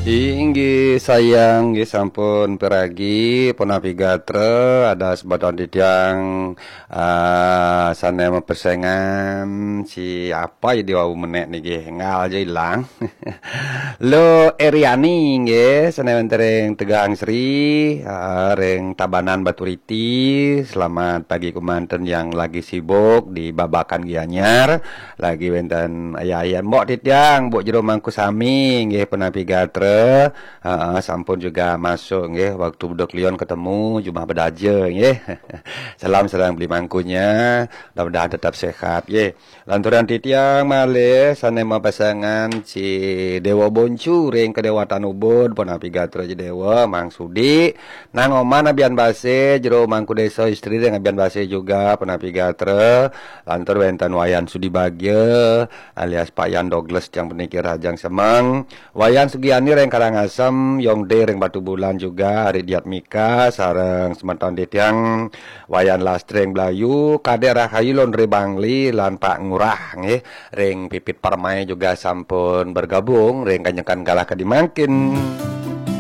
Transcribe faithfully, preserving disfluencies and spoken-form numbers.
Inggih sayang, nggih sampun piragi, punapi gatra, ada semeton titiang, ah, sane mapesengan si apa ya di wau menek niki, ngal aja ilang. Lo Eriani nggih, sane wenten ring Tegang Sri, ah, ring Tabanan Baturiti. Selamat pagi kumanten yang lagi sibuk di Babakan Gianyar. Lagi wenten ayah-ayah, mbok titiang, mbok jero mangku sami, nggih, punapi gatra. Heeh, sampun juga masuk, nggih, waktu beduk lion ketemu, jumah bedaja, nggih. Salam sareng beli mangkunya, mudah-mudahan tetap sehat, nggih. Lanturan titiang malih, sane mapasengan si Dewa Boncu ring Kedewatan Ubud, punapi gatra Dewa, Mang Sudi, Nang Oman abian base, jero mangku desa istri ring abian base juga, punapi gatra. Lantur wenten Wayan Sudi Bagya, alias Pak Yan Douglas tiang peniki Rajang Semeng. Wayan Sugiani ring Karangasem, Yong De ring Batubulan juga, Ari Diatmika, sareng semeton titiang Wayan Lastri ring Blayu, Kadek Rahayu Londre Bangli, lan Pak Ngurah, nggih, ring Pipit Parmai juga sampun bergabung, ring kanyekan galah kadi mangkin.